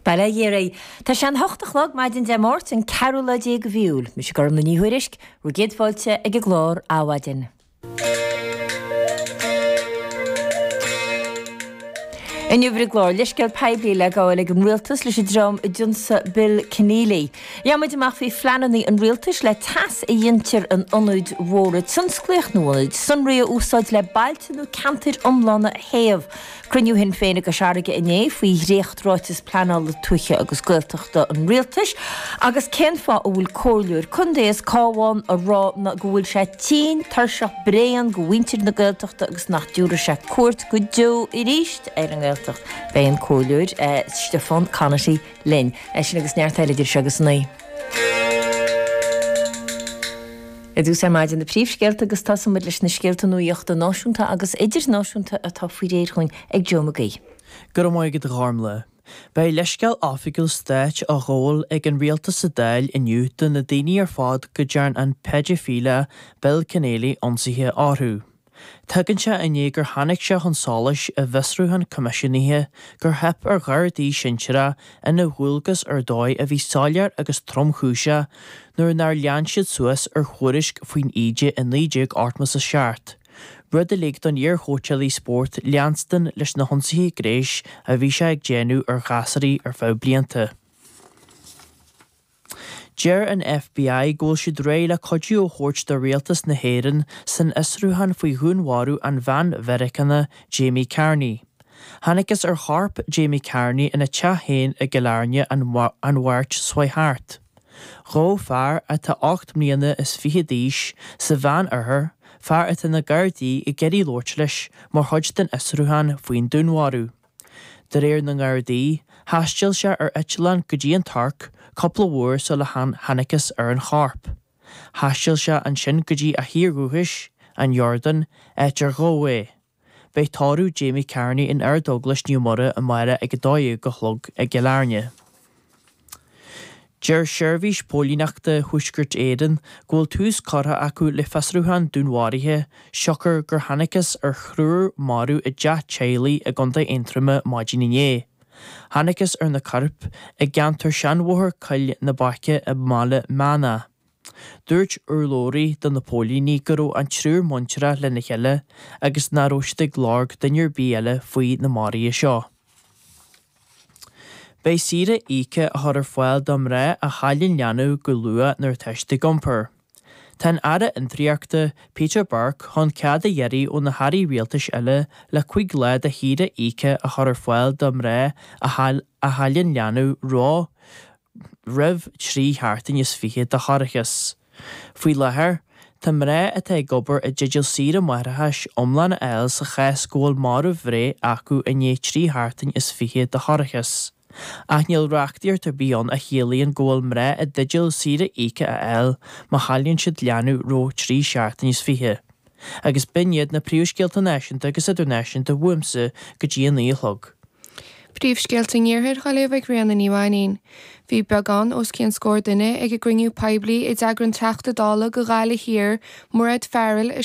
Bail ó Dhia oraibh. Tá sé an hocht a chlog maidin Dé Máirt, an ceathrú lá déag de mhí Iúil. Mise Gormlaith Ní Thuairisg, bhur gcéad fáilte ag an gclár Adhmhaidin. Inniu ar an gclár, leithscéal poiblí le gabháil ag an rialtas leis an dream a d'ionsaigh Bill Kenneally. Gheobhaidh muid amach faoi phleananna an rialtais le teas a ghintear in ionaid mhóra tionsclaíoch nó ionaid sonraí a úsáid le bailte nó ceantair iomlána a théamh. Cruinniú Shinn Féin i gCois Fharraige inné faoi dhréacht-ráiteas pleanála tuaithe agus Gaeltachta an Rialtais agus cén fáth a bhfuil comhairleoir contae as Cabhán ag rá go bhfuil sé tinn, tuirseach, bréan de mhuintir na Gaeltachta agus nach dtiúrfaidh sé cuairt go deo arís ar an nGaeltacht. Beidh an comhairleoir Stiofán Conaty linn. É sin agus neart eile idir seo agus a naoi. I dtús ar maidin na príomhscéalta agus tosóidh muid leis na scéalta nuachta náisiúnta agus idirnáisiúnta atá faoi réir dhúinn ag Joe Mag Aoidh. Go raibh maith agat a Ghormlaith. Beidh leithscéal oifigiúil stáit á ghabháil ag an rialtas sa Dáil inniu do na daoine ar fad go dtearn an peidifíleach Bill Kenneally ionsaithe orthu. Tagann sé i ndiaidh gur tháinig sé chun solais i bhfiosrúchán coimisiúnaithe gur theip ar ghardaí sinsearach ina ndualgas ar dhóigh a bhí soiléir agus tromchúiseach nuair nár lean siad suas ar thuairisc faoin íde i 1987, rud a lig don iar-chóitseálaí spóirt leanstan leis na hionsaithe gnéis a bhí sé ag déanamh ar ghasúraí ar feadh blianta. Deir an FBI go bhfuil siad réidh le cuidiú a thabhairt do rialtas na hÉireann san fhiosrúchán faoi dhúnmharú an bhean Mheiriceánach Jamie Carney. Thángthas ar chorp Jamie Carney ina teach féin i gCill Airne an Mháirt seo chuaigh thart. Ghabh fear atá 8 mbliana is fiche d'aois sa Mheán-Oirthear, fear atá na Gardaí ag iarraidh labhairt leis mar chuid den fhiosrúchán faoin dúnmharú. De réir na nGardaí, thaistil sé ar eitleán go dtí an Tuirc cúpla uair sula thángthas ar an chorp. Thaistil sé ansin go dtí a thír dhúchais, an Iordáin, áit ar gabhadh é. Beidh tórramh Jamie Carney in Ardeaglais Naomh Muire amárach ag 12 a chlog i gCill Airne. Deir Seirbhís Póilíneachta Thuaisceart Éireann go bhfuil tús curtha acu le fiosrúchán dúnmharaithe siocair gur thángthas ar thriúr marbh i dteach teaghlaigh i gContae Aontroma maidin inné. Thángthas ar na coirp i gceantar Seanbhóthar Coill na Baice i mBaile Meanach. Dúirt urlabhraí do na póilíní go raibh an triúr muinteartha lena chéile agus nach raibh siad ag lorg duine ar bith eile faoi na maruithe seo. Beidh saoire íoctha á chur ar fáil do mhná a chailleann leanbh go luath nuair atá siad ag iompar. Tá an Aire Fhiontraíochta, Peter Burke chun cead a iarraidh ó na hairí rialtais eile le 5 lá de shaoire íoctha a chur ar fáil do mhná a chailleann leanbh roimh roimh 3 sheachtain is 20 de thoircheas. Faoi láthair, tá mná atá ag obair i dteideal saoire máithreachais iomlán a fháil sa chás go bhfuil marbhbhreith acu i ndiaidh 3 sheachtain is 20 de thoircheas. Ach níl reachtaíocht ar bith ann a chiallaíonn go bhfuil mná i dteideal saoire íoctha a fháil má chailleann siad leanbh roimh 3 seachtain is 20. Agus b'in iad na príomhscéalta náisiúnta agus idirnáisiúnta uaimse go dtí a 9 a chlog. Príomhscéalta an Iarthair á léamh ag Ríona Ní Mhainín. Bhí beagán os cionn scór duine ag an gcruinniú poiblí a d'eagraigh an Teachta Dála do Ghaillimh Thiar, Mairéad Farrell, i.